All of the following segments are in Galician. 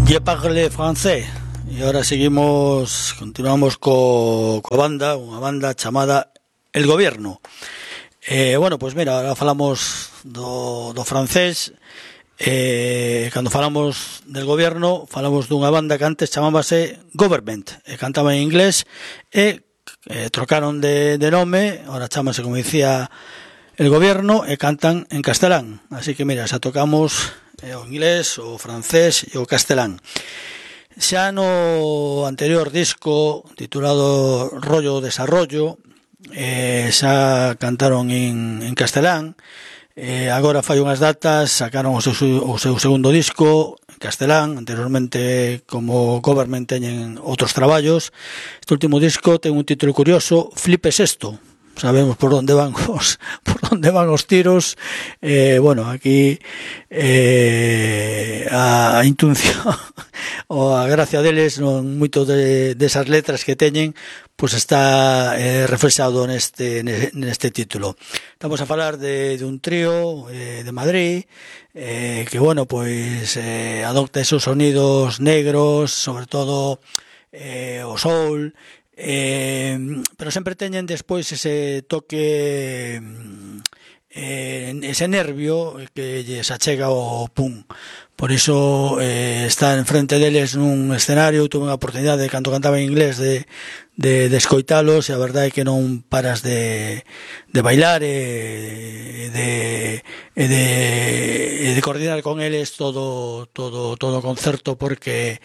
Je parle français. E agora continuamos coa banda, unha banda chamada El Gobierno. Bueno, pois mira, agora falamos do francés. Cando falamos del Gobierno, falamos dunha banda que antes chamábase Government, e cantaba en inglés, e trocaron de nome, agora chámase, como dicía, El Gobierno, e cantan en castelán. Así que mira, xa tocamos o inglés, o francés e o castelán. Xa no anterior disco titulado Rollo Desarrollo, xa cantaron en castelán. Agora fai unhas datas sacaron o seu segundo disco en castelán. Anteriormente, como Government, teñen outros traballos. Este último disco ten un título curioso: Flipes esto. Sabemos por onde van os tiros. Bueno, aquí a intuición ou a gracia deles, non moito desas letras que teñen, pois está reflexado neste título. Estamos a falar de un trío de Madrid que, bueno, pois adopta esos sonidos negros, sobre todo o soul, pero sempre teñen despois ese toque, ese nervio que lles achega o pum. Por iso está enfrente deles nun escenario. Tuve unha oportunidade, cando cantaba en inglés, de escoitalos, e a verdade é que non paras de bailar e de coordinar con eles todo o concerto, porque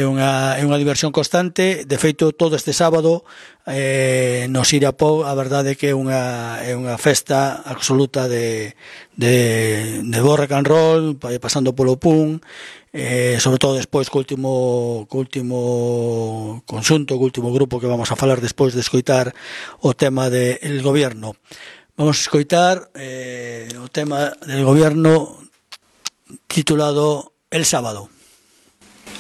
é unha diversión constante. De feito, todo este sábado no Siriapó, a verdade é que é unha festa absoluta de bo rock and roll, pasando polo punk, sobre todo despois co último conxunto, co último grupo que vamos a falar despois de escoitar o tema de El Gobierno. Vamos a escoitar o tema del Gobierno titulado El Sábado.